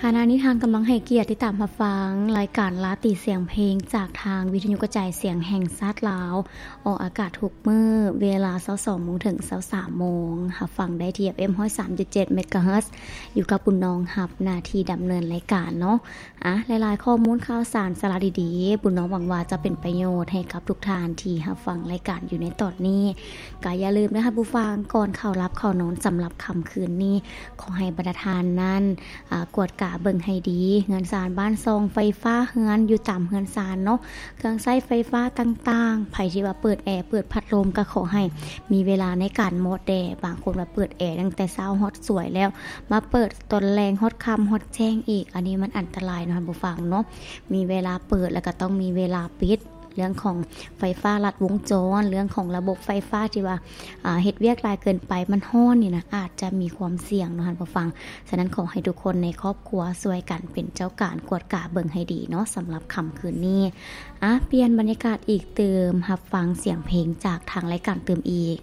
ຂະນະນີ້ທ່ານກຳລັງໃຫ້ກຽດຕິດຕາມຮັບຟັງລາຍການລາຕີສຽງເພງ ຈາກທາງວິທະຍຸກະຈາຍສຽງແຫ່ງຊາດລາວ, ອອກອາກາດທຸກມື້ເວລາຊາວສອງໂມງເຖິງຊາວສາມໂມງ. ຮັບຟັງໄດ້ທີ່ ເອັຟເອັມ ຮ້ອຍສາມຈຸດເຈັດ ເມກາເຮີດ ຢູ່ກັບບຸນນອງຮັບໜ້າທີ່ດຳເນີນລາຍການເນາະ. ອາ ຫຼາຍໆຂໍ້ມູນຂ່າວສານສາລະດີໆ ບຸນນອງຫວັງວ່າຈະເປັນປະໂຫຍດໃຫ້ກັບທຸກທ່ານທີ່ຮັບຟັງລາຍການຢູ່ໃນຕອນນີ້. ກະຢ່າລືມເດີທ່ານຜູ້ຟັງ, ກ່ອນເຂົ້າຫຼັບເຂົ້ານອນສຳລັບຄ່ຳຄືນນີ້, ຂໍໃຫ້ບັນດາທ່ານນັ້ນ ອາ ກວດກາເບິ່ງໃຫ້ດີ ເຮືອນຊານບ້ານຊ່ອງ, ໄຟຟ້າເຮືອນຢູ່ຕາມເຮືອນຊານເນາະ, ເຄື່ອງໃຊ້ໄຟຟ້າຕ່າງໆ, ໃຜທີ່ວ່າເປີດແອ ເປີດພັດລົມ ກໍຂໍໃຫ້ມີເວລາໃນການໝົດແດ່. ບາງຄົນວ່າເປີດແອຕັ້ງແຕ່ເຊົ້າຮອດສວຍແລ້ວ ມາເປີດຕອນແລງຮອດຄ່ຳຮອດແຈ້ງອີກ, ອັນນີ້ມັນອັນຕະລາຍເນາະທ່ານຜູ້ຟັງເນາະ. ມີເວລາເປີດ ແລ້ວກໍຕ້ອງມີເວລາປິດ. ເລື່ອງຂອງໄຟຟ້າລັດວົງຈອນ, ເລື່ອງຂອງລະບົບໄຟຟ້າທີ່ວ່າ ອາ ເຮັດວຽກຫຼາຍເກີນໄປ, ມັນຮ້ອນນີ້ນະ, ອາດຈະມີຄວາມສ່ຽງເນາະທ່ານຜູ້ຟັງ. ສະນັ້ນ ຂໍໃຫ້ທຸກຄົນໃນຄອບຄົວຊ່ວຍກັນເປັນເຈົ້າການກວດກາເບິ່ງໃຫ້ດີເນາະ ສຳລັບຄ່ຳຄືນນີ້. ອາ ປ່ຽນບັນຍາກາດອີກຕື່ມ, ຮັບຟັງສຽງເພງຈາກທາງລາຍການຕື່ມອີກ.